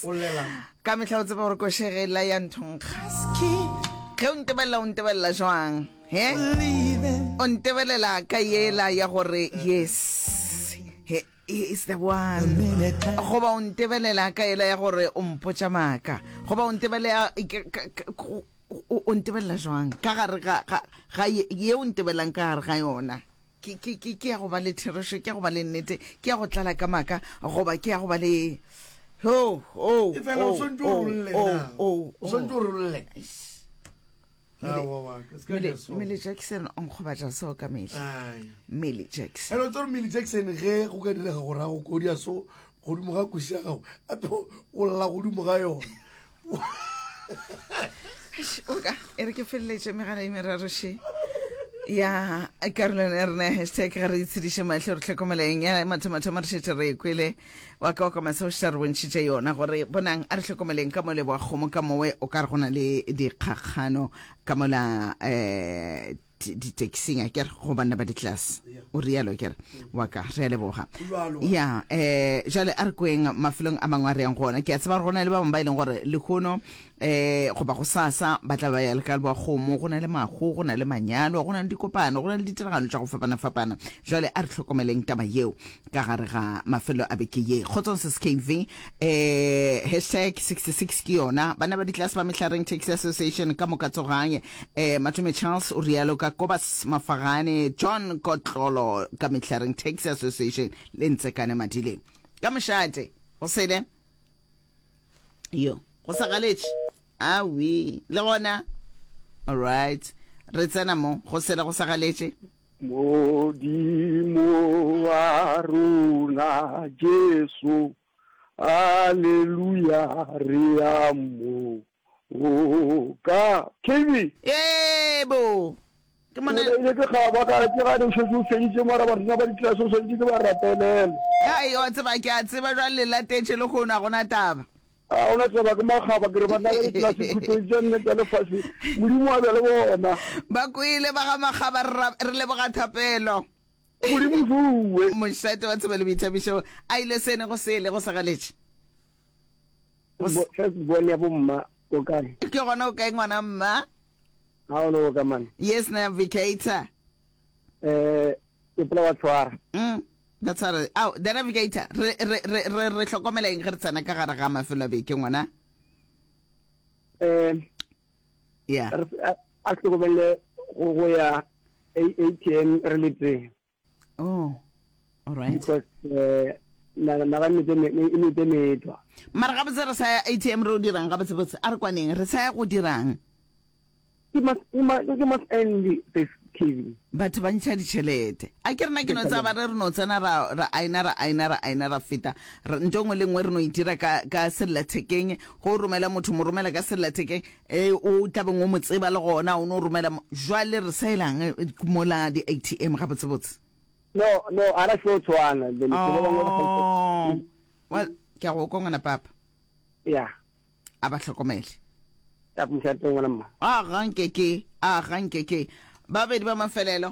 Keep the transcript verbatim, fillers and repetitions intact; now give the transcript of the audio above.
O llela. Ka mehla o tseba gore košegela ya nthonkga. Ge o ntebelela, o ntebelela jwang? He? O ntebelela ka yela ya gore yes, he, he is the one. Goba o ntebelela ka yela ya gore o mpotša maaka. Goba o ntebelela ke- ka- ka- o o ntebelela jwang ka gare ga ga ga ye ye o ntebelelang ka gare ga yona? Ke ke ke ke ya go ba le therešo, ke ya go ba le nnete, ke ya go tlala ka maaka, goba ke ya go ba le ho ho E fela o ho swantse o ho rolle ho na. ho O swantse o rolle. Mele- Aowa, wa, se ka Millie dira so. Millie Jackson o nkgobatša so ka mehla. Ai. Millie Jackson. Ene o tsere Millie Jackson ge go ka direga gore a go kodia so godimo ga koši ya gago ape o lla godimo ga yona. Eish, oka e re ke feleletše megala e meraro še ya karolwana ya rena ya hashtag ga re itshediše mahlo re hlokomeleng ya mathomathomo re šetše re e kwele wa ka wa ka maseo šetše re bontšhitše yona gore bonang a re hlokomeleng ka mo leboa kgomo ka mowe o ka re go na le dikgakgano ka mola um di-taxing a kere go banna ba di-class o rialo kere wa ka re a leboga Jwalo. ya um jale a re kweng mafelong a mangwe a re yang go ona. Ke a tseba gore go na le ba bangwe ba e leng gore lehono um goba go sasa ba tla ba ya le ka leboa kgomo, go na le mahu, go na le manyalo, go na le dikopano, go na le ditiragalo tša go fapana-fapana. Jale a re hlokomeleng taba yeo ka gare ga mafelo a beke ye. Kgotsong sis K V, eh hashtag sixty-six ke yona. Bana ba ditlase ba Mehlareng Taxi Association ka moka tsogang. Eh Matome Charles o rialo ka Kobas Mafagane, John Kotlolo ka Mehlareng Taxi Association le Ntsekane Madileng. Ka mošate, go sele. Yo, go sa galetše. Awi, le gona. All right. Re tsena mo, go sele go sa galetše. Modimo wa rona Jesu, haleluya, re a mo oka. K B. Yebo. Ke mona. Ke ile ke gaba ka ke gane o šetše o feditše mara barena ba ditlase o swanetše ke ba rapelele. Ai, wa tseba ke a tseba jwale le latetše le kgono a gona taba. A gona taba ke makgaba ke re banna ba ditlase khutlong tša nne tša lefase Modimo a be le bona. Ba kwele ba ga makgaba re ra- re leboga thapelo. Modimo fuwe. Mošate wa tsebo le boithabišo a ile sene go sele go sa galetše. Go s- First born ya bomma o kae? Ke gona o kae ngwana mma? Ha o no ka man. Yes navigator. Eh ke pola wa tshwara. Mm. That's how re, ao, the navigator re re re re re hlokomela eng ge re tsena ka gare ga mafelo a beke ngwana? Eh Yeah. re a a hlokomele go go ya A T M re le tee. Oh. All right. Because eh na na ga metse me e metse metwa. Mara gabotse re sa ya A T M re o dirang gabotse botse a re kwaneng re sa ya go dirang? Ke mas ke ma ke mas end this T V. Batho ba ntšha ditšhelete. A ke rena ke no tsaba re re no tsena ra ra aina ra aina ra aina ra feta. Re nto nngwe le nngwe re no itira ka ka sellathekeng. Go romela motho mo romela ka sellathekeng e o tlabeng o mo tseba le gona o no romela mo- jwale re sa elang eh, mola di A T M gabotse botse. No no ara se tshwana then ke ba bangwe ba Oh. Well, ke a go kwa ngwana papa. Yeah. A ba hlokomele. Ya mošate ngwana mma. A ga nke ke, a ga nke ke. Babedi ba mafelelo.